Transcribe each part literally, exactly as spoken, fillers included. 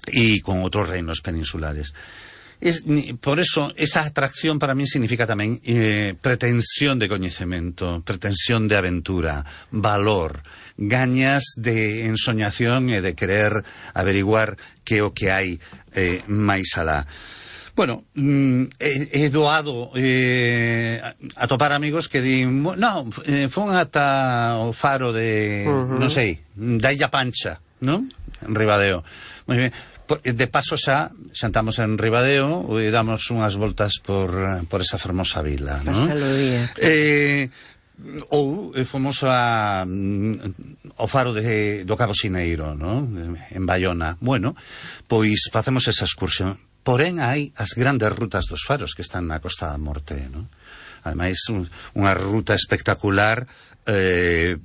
y con otros reinos peninsulares. Es, por eso, esa atracción para mí significa tamén eh, pretensión de coñecemento, pretensión de aventura, valor, gañas de ensoñación e de querer averiguar que o que hai eh, máis alá. Bueno, he, he doado eh, a topar amigos que din, no, eh, fun ata o faro de, uh-huh. non sei, da Illa Pancha, non? En Ribadeo. Moi ben. De paso xa xantamos en Ribadeo e damos unhas voltas por, por esa fermosa vila, non? Pasalo día. Eh, ou fomos a, ao faro de, do Cabo Sineiro, non? En Bayona. Bueno, pois facemos esa excursión. Porén hai as grandes rutas dos faros que están na Costa da Morte, non? Ademais, un, unha ruta espectacular, eh,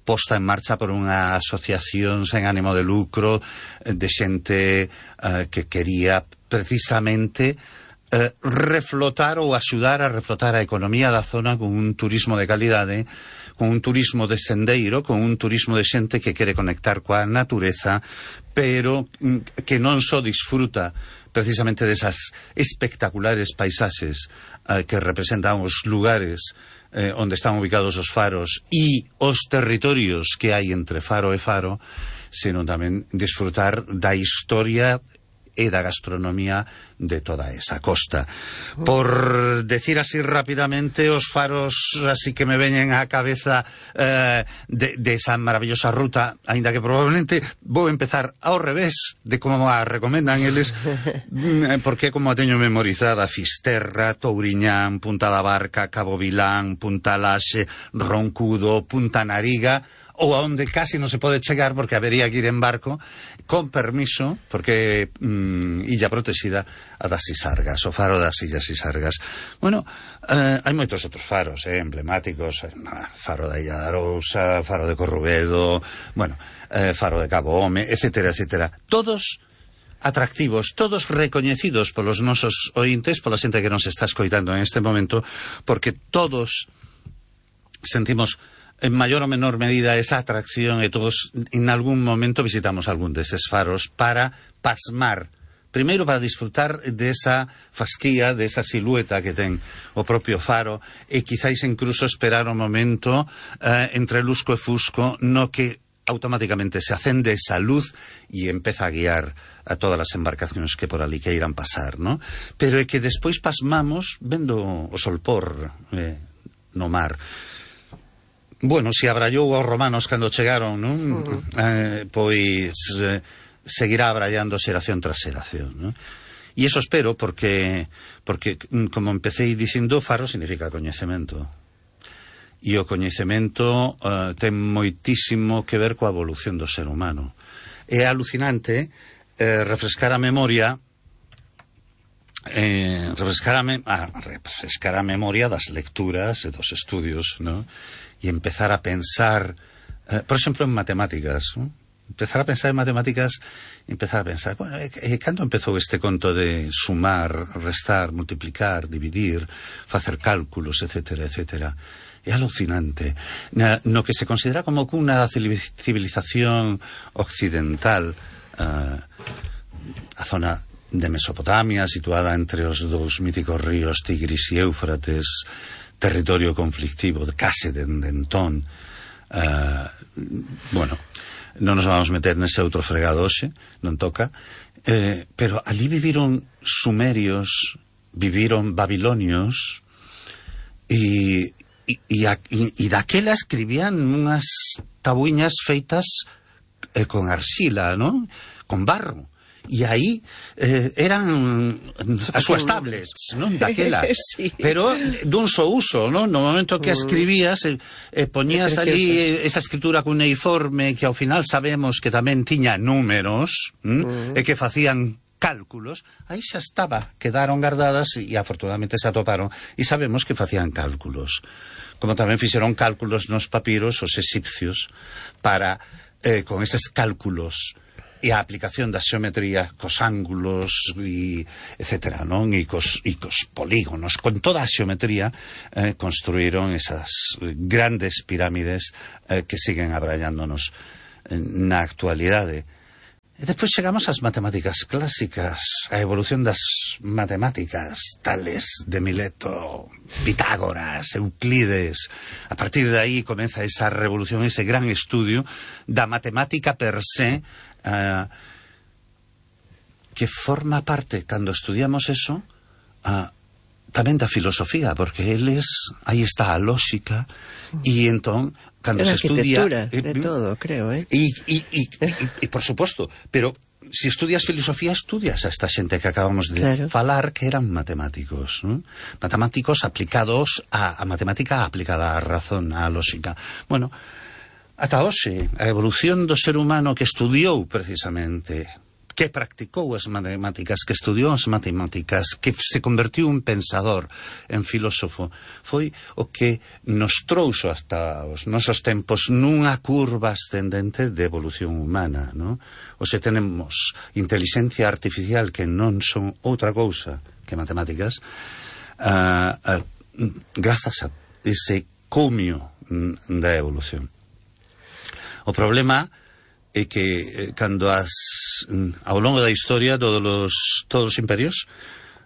posta en marcha por unha asociación sen ánimo de lucro de xente uh, que quería precisamente uh, reflotar ou axudar a reflotar a economía da zona con un turismo de calidade, con un turismo de sendeiro, con un turismo de xente que quere conectar coa natureza, pero que non só disfruta precisamente desas espectaculares paisaxes uh, que representan os lugares Eh, onde están ubicados os faros e os territorios que hai entre faro e faro, senón tamén disfrutar da historia e da gastronomía de toda esa costa. Por decir así rapidamente, os faros así que me veñen á cabeza eh, de, de esa maravillosa ruta, aínda que probablemente vou empezar ao revés de como a recomendan eles, porque como a teño memorizada: Fisterra, Touriñán, Punta da Barca, Cabo Vilán, Punta Laxe, Roncudo, Punta Nariga, ou a onde casi non se pode chegar porque habería que ir en barco, con permiso, porque mm, illa protexida, a das Sisargas, o faro das Illas Sisargas. Bueno, eh, hai moitos outros faros eh, emblemáticos, eh, faro da Illa da Arousa, faro de Corrubedo, bueno, eh, faro de Cabo Home, etcétera, etcétera. Todos atractivos, todos recoñecidos polos nosos ointes, pola xente que nos está escoitando en este momento, porque todos sentimos en mayor o menor medida esa atracción e todos en algún momento visitamos algún deses faros para pasmar, primeiro para disfrutar desa fasquía, desa silueta que ten o propio faro e quizáis incluso esperar o momento eh, entre lusco e fusco no que automáticamente se acende esa luz e empeza a guiar a todas as embarcacións que por ali queiran pasar, ¿no? Pero é que despois pasmamos vendo o solpor eh, no mar. Bueno, se abrallou aos romanos cando chegaron, non? Uh-huh. Eh, pois eh, seguirá abrallando xeración tras xeración, non? E iso espero porque, porque como empecéi dicindo, faro significa coñecemento. E o coñecemento eh, ten moitísimo que ver coa evolución do ser humano. É alucinante eh, refrescar a memoria eh, refrescar, a me ah, refrescar a memoria das lecturas e dos estudios, non? E empezar a pensar, eh, por exemplo, en matemáticas, ¿no? Empezar a pensar en matemáticas, empezar a pensar, bueno, eh, eh, cando empezou este conto de sumar, restar, multiplicar, dividir, facer cálculos, etcétera, etcétera. É alucinante. Na, no que se considera como cuna da civilización occidental, eh, a zona de Mesopotamia, situada entre os dous míticos ríos Tigris e Éufrates, territorio conflictivo de case de entón, uh, bueno, non nos vamos meter nese outro fregado hoxe, non toca, eh, pero ali viviron sumerios, viviron babilonios e, e, e, e daquela escribían unhas tabuiñas feitas eh, con arxila, non? Con barro. E aí eh, eran as súas tablets, non? Daquela, sí. Pero dun só uso, non? No momento que escribías e eh, eh, poñías ali esa escritura cuneiforme que ao final sabemos que tamén tiña números, uh-huh. e que facían cálculos, aí xa estaba, quedaron guardadas e afortunadamente se atoparon e sabemos que facían cálculos, como tamén fixeron cálculos nos papiros os egipcios para, eh, con eses cálculos e a aplicación da xeometría cos ángulos e etcétera, non? E cos, e cos polígonos, con toda a xeometría eh, construíron esas grandes pirámides eh, que siguen abrallándonos eh, na actualidade. E despois chegamos ás matemáticas clásicas, a evolución das matemáticas, Tales, de Mileto, Pitágoras, Euclides. A partir de aí comeza esa revolución, ese gran estudio da matemática per se, uh, que forma parte, cando estudiamos eso, uh, tamén da filosofía, porque eles, aí está a lógica, e entón cando se estudia eh, de todo, creo, eh. E, e, e, e, e por suposto, pero se estudias filosofía, estudias a esta xente que acabamos de claro. falar, que eran matemáticos, ¿no? Matemáticos aplicados a, a matemática aplicada á razón, á lógica. Bueno, ata hoxe, a evolución do ser humano que estudiou precisamente, que practicou as matemáticas, que estudiou as matemáticas, que se convertiu en pensador, en filósofo, foi o que nos trouxo hasta os nosos tempos nunha curva ascendente de evolución humana, ¿no? Oxe, tenemos inteligencia artificial que non son outra cousa que matemáticas, uh, uh, grazas a ese comio da evolución. O problema é que eh, cando as ao longo da historia todos os todos os imperios,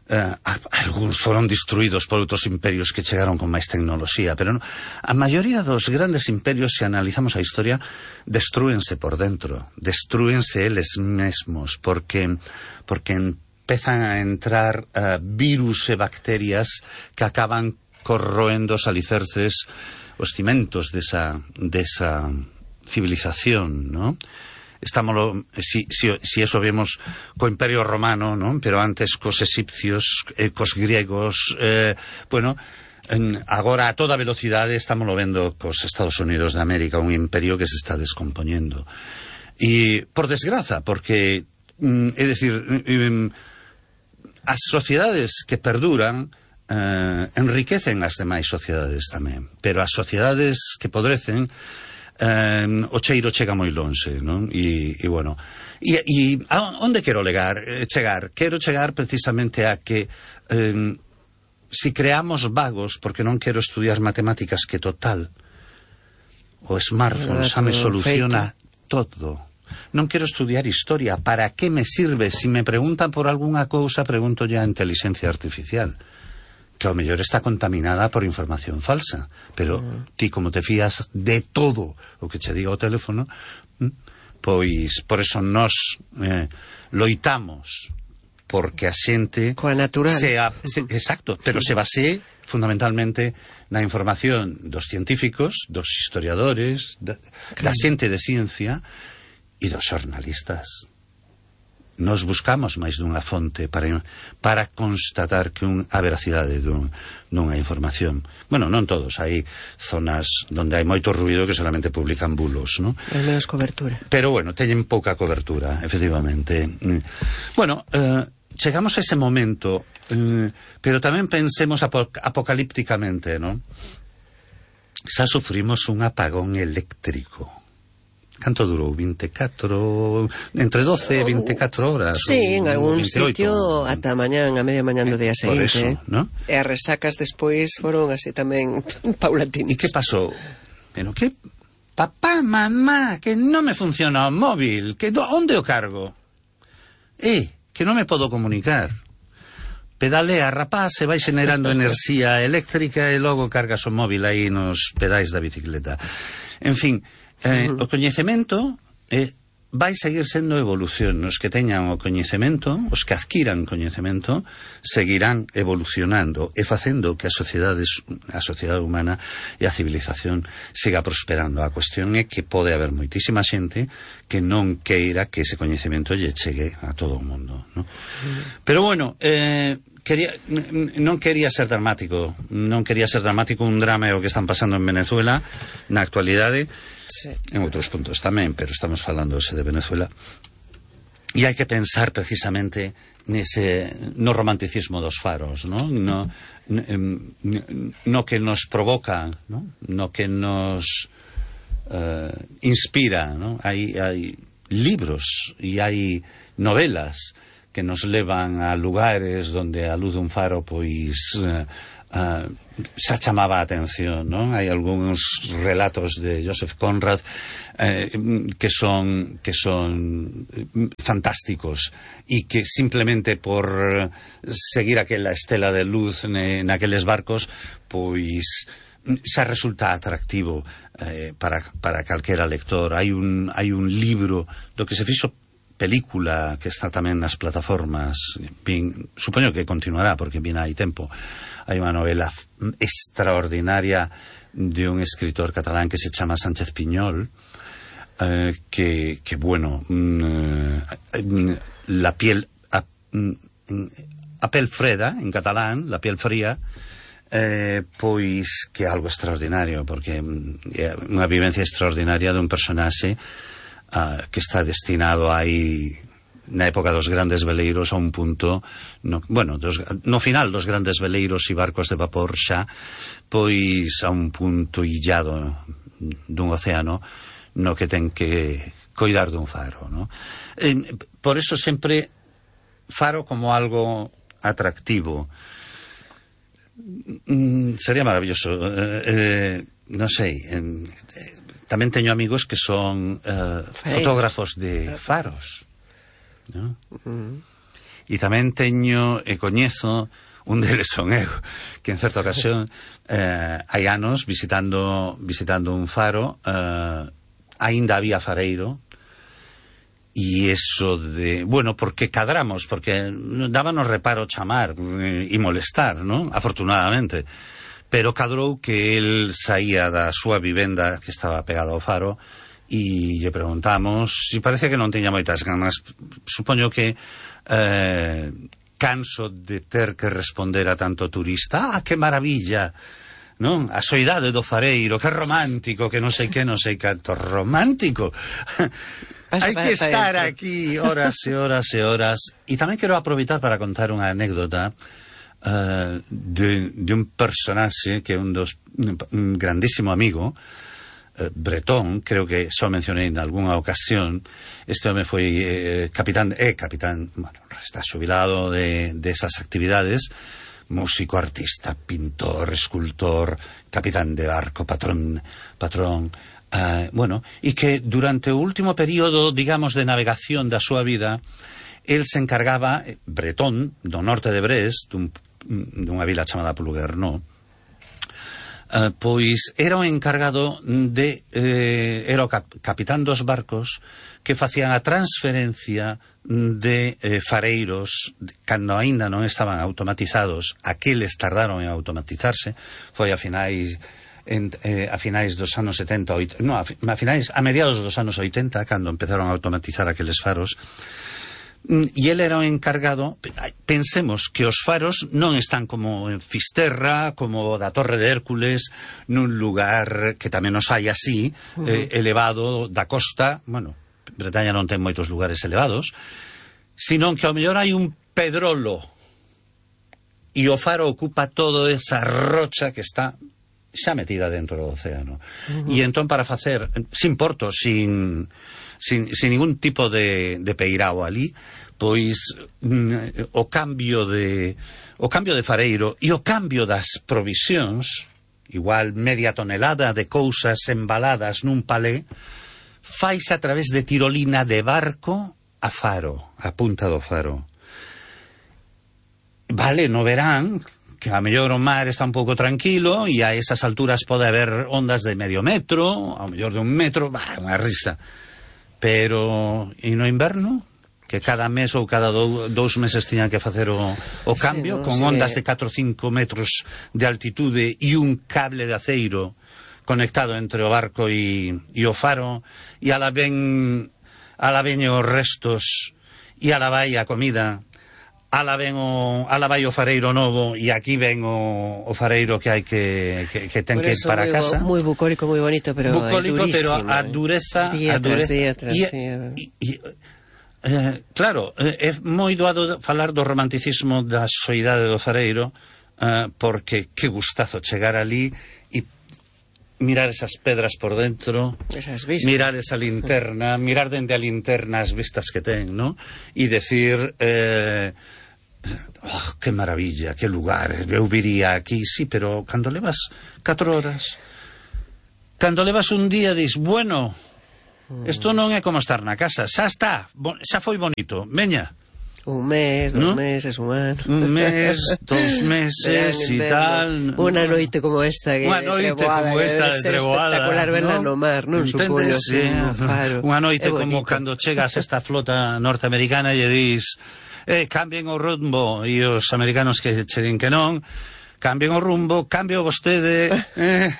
eh, algúns foron destruídos por outros imperios que chegaron con máis tecnoloxía, pero no, a maioría dos grandes imperios, se analizamos a historia, destrúense por dentro, destrúense eles mesmos, porque porque empezan a entrar uh, virus e bacterias que acaban corroendo os alicerces, os cimentos desa desa civilización, ¿no? Estamos, si, si, si eso vemos co Imperio Romano, ¿no? Pero antes cos egipcios, eh, cos griegos, eh, bueno, en, agora a toda velocidade estamos lo vendo cos Estados Unidos de América, un imperio que se está descompoñendo. E, por desgraza, porque, mm, é dicir, mm, as sociedades que perduran eh, enriquecen as demais sociedades tamén, pero as sociedades que podrecen, Um, o cheiro chega moi lonxe, non? E, e bueno, e, e a onde quero legar, eh, chegar? Quero chegar precisamente a que um, si creamos vagos, porque non quero estudiar matemáticas, que total o smartphone xa me soluciona todo. Non quero estudiar historia, para que me sirve? Si me preguntan por algunha cousa, pregunto ya a inteligencia artificial, que ao mellor está contaminada por información falsa, pero mm. ti como te fías de todo o que che diga o teléfono, pois por eso nos eh, loitamos porque a xente coa natural sea, se, exacto, pero se base fundamentalmente na información dos científicos, dos historiadores, da, claro. da xente de ciencia e dos xornalistas. Nos buscamos máis dunha fonte para, para constatar que un, a veracidade dun, dunha información. Bueno, non todos, hai zonas onde hai moito ruido que solamente publican bulos, ¿no? Hai menos cobertura. Pero bueno, teñen pouca cobertura, efectivamente. Bueno, eh, chegamos a ese momento, eh, pero tamén pensemos apoc apocalípticamente, ¿no? Xa sufrimos un apagón eléctrico. Canto durou? vinte e catro, entre doce e vinte e catro horas? Sí, en algún sitio ata mañán, a media mañán do día seguinte. Por eso, ¿no? E as resacas despois foron así tamén paulatinas. E que pasou? Pero que... Papá, mamá, que non me funciona o móvil, que do... onde o cargo? Eh, que non me podo comunicar. Pedalea, rapaz, se vai generando enerxía eléctrica e logo cargas o móvil aí nos pedais da bicicleta. En fin... Eh, o coñecemento eh, vai seguir sendo evolución. Os que teñan o coñecemento, os que adquiran coñecemento, seguirán evolucionando e facendo que a sociedade, a sociedade humana e a civilización siga prosperando. A cuestión é que pode haber moitísima xente que non queira que ese coñecemento lle chegue a todo o mundo, ¿no? Pero bueno, eh, quería, non quería ser dramático, non quería ser dramático un drama o que están pasando en Venezuela na actualidade. Sí. En outros puntos tamén, pero estamos falando de Venezuela, e hai que pensar precisamente nese, no romanticismo dos faros, ¿no? No, no, no que nos provoca, ¿no? No que nos uh, inspira, ¿no? Hai, hai libros e hai novelas que nos levan a lugares donde a luz dun faro pois uh, uh, xa chamaba a atención, non? Hai algúns relatos de Joseph Conrad eh, que son que son fantásticos e que simplemente por seguir aquela estela de luz ne, naqueles barcos, pois xa resulta atractivo eh, para, para calquera lector. Hai un, hai un libro do que se fixo película que está tamén nas plataformas, bien, supoño que continuará porque bien hai tempo. Hai unha novela extraordinaria de un escritor catalán que se chama Sánchez Piñol, eh, que, que, bueno, eh, la piel, a, a pel freda, en catalán, la piel fría, eh, pois que é algo extraordinario, porque é unha vivencia extraordinaria dun personaxe uh, que está destinado aí na época dos grandes veleiros a un punto no, bueno, dos, no final dos grandes veleiros e barcos de vapor xa, pois a un punto illado dun océano no que ten que coidar dun faro, no? Eh, por eso sempre faro como algo atractivo. Mm, sería maravilloso, eh, eh, non sei, eh, tamén teño amigos que son eh, fotógrafos de faros, ¿no? Uh-huh. E tamén teño e coñezo, un deles son eu, que en certa ocasión eh, hai anos visitando visitando un faro, eh, aínda había fareiro, e eso de, bueno, porque cadramos, porque dábanos reparo chamar e eh, molestar, ¿no? Afortunadamente, pero cadrou que el saía da súa vivenda que estaba pegada ao faro e lle preguntamos e parece que non tiña moitas ganas. Supoño que eh, canso de ter que responder a tanto turista. Ah, que maravilla, non? A soidade do fareiro, que romántico, que non sei que, non sei canto romántico. Hai que estar aquí horas e horas e horas. E tamén quero aproveitar para contar unha anécdota uh, de, de un personaxe que é un dos un grandísimo amigo, Bretón, creo que só mencionei en algunha ocasión. Este home foi eh, capitán, é eh, capitán, bueno, está xubilado de, de esas actividades, músico, artista, pintor, escultor, capitán de barco, patrón, patrón, uh, bueno, e que durante o último período, digamos, de navegación da súa vida, el se encargaba, Bretón, do norte de Brest, dun, dunha vila chamada Plouguerneau, Uh, pois era o encargado de eh, era o cap capitán dos barcos que facían a transferencia de eh, fareiros cando aínda non estaban automatizados. Aqueles tardaron en automatizarse, foi a finais en, eh, a finais dos anos setenta, oitenta, no, a, a finais a mediados dos anos oitenta, cando empezaron a automatizar aqueles faros. E ele era o encargado. Pensemos que os faros non están como en Fisterra, como da Torre de Hércules, nun lugar que tamén os hai así, uh-huh. eh, elevado da costa. Bueno, Bretaña non ten moitos lugares elevados, senón que ao mellor hai un pedrolo e o faro ocupa toda esa rocha que está xa metida dentro do océano. Uh-huh. E entón, para facer, sin porto, sin... Sin, sin ningún tipo de, de peirao ali, pois mm, o cambio de o cambio de fareiro e o cambio das provisións, igual media tonelada de cousas embaladas nun palé, faise a través de tirolina de barco a faro, a punta do faro. Vale, no verán que a mellor o mar está un pouco tranquilo e a esas alturas pode haber ondas de medio metro, a mellor de un metro, bah, unha risa. Pero e no inverno, que cada mes ou cada dou, dous meses tiñan que facer o, o cambio, sí, no, con sí, ondas de catro ou cinco metros de altitude e un cable de aceiro conectado entre o barco e, e o faro, e ala ven ala ven os restos e ala vai a comida, ala ven o ala vai o fareiro novo e aquí ven o, o fareiro que hai que, que, que ten que ir para muy, casa. Muy bucólico, muy bonito, pero bucólico, pero a dureza, día a dureza tras día tras y, día. Y, y, eh, claro, é eh, moi doado falar do romanticismo da soidade do fareiro, eh, porque que gustazo chegar ali e mirar esas pedras por dentro, esas vistas, mirar esa linterna, mirar dende a linterna as vistas que ten, ¿no? E decir, eh, oh, que maravilla, que lugar, eu viría aquí, sí, pero cando levas catro horas, cando levas un día, dis, bueno, isto non é como estar na casa, xa está, xa foi bonito, veña. Un mes, dos ¿no? meses, un ano. Un mes, dos meses e tal. Unha noite como esta que Unha noite treboada, como esta de treboada, espectacular verla ¿no? no mar, non supoño así, no faro. Unha noite como cando chegas a esta flota norteamericana e dis, eh, cambien o rumbo, e os americanos que che din que non, cambien o rumbo, cambio vostede, eh,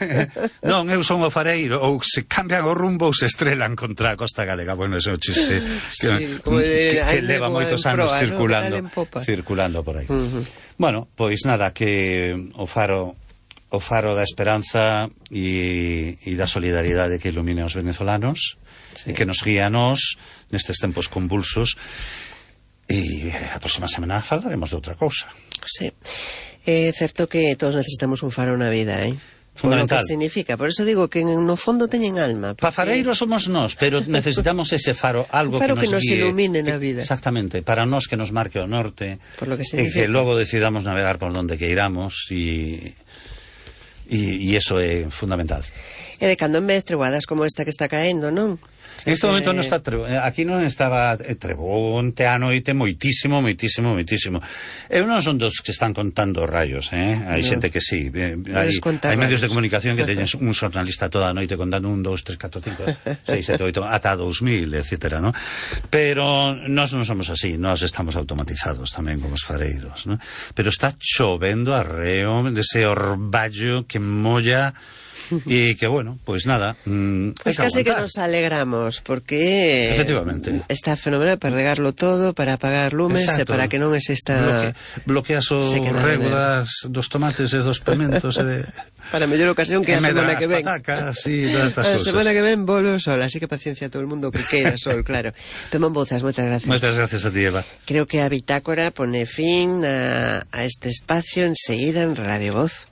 non, eu son o fareiro, ou se cambian o rumbo ou se estrelan contra a costa galega. Bueno, ese é o chiste que, sí, de, que, que leva moitos anos proa, circulando, ¿no? circulando por aí. Uh -huh. Bueno, pois nada, que o faro o faro da esperanza e, e da solidaridade que ilumine aos venezolanos, sí, e que nos guía a nós nestes tempos convulsos, e a próxima semana falaremos de outra cousa. Sí. É certo que todos necesitamos un faro na vida, eh? Fundamental. Por lo que significa. Por eso digo que no fondo teñen alma. Porque... Pafareiros somos nós, pero necesitamos ese faro, algo un faro que nos, que nos guíe, ilumine na vida. Exactamente, para nós que nos marque o norte, por lo que e que logo decidamos navegar por donde queiramos, e e eso é fundamental. E de cando en vez treboadas como esta que está caendo, non? En este momento non está trebo, aquí non estaba trebonte a noite moitísimo, moitísimo, moitísimo. Eu non son dos que están contando rayos, eh? Hai no. xente que sí, eh, hai, hai medios de comunicación que teñen un xornalista toda a noite contando un, dos, tres, catro, cinco, seis, sete, oito, ata dous mil, etcétera, ¿no? Pero nós non somos así, nós estamos automatizados tamén como os fareiros, ¿no? Pero está chovendo arreo dese orballo que molla. Y que bueno, pues nada, mmm, pues casi que nos alegramos porque efectivamente está fenomenal para regarlo todo, para apagar lumes. Exacto. E para que non exista Bloque, bloqueas o rego das, dos tomates e dos pimentos e de... para mellor ocasión que a semana que ven patacas e todas estas a cosas. semana que ven volve o sol, así que paciencia a todo el mundo que queira sol, claro. Tomán Bouzas, moitas gracias. Moitas gracias a ti, Eva. Creo que a Bitácora pone fin a, a este espacio enseguida en Radio Voz.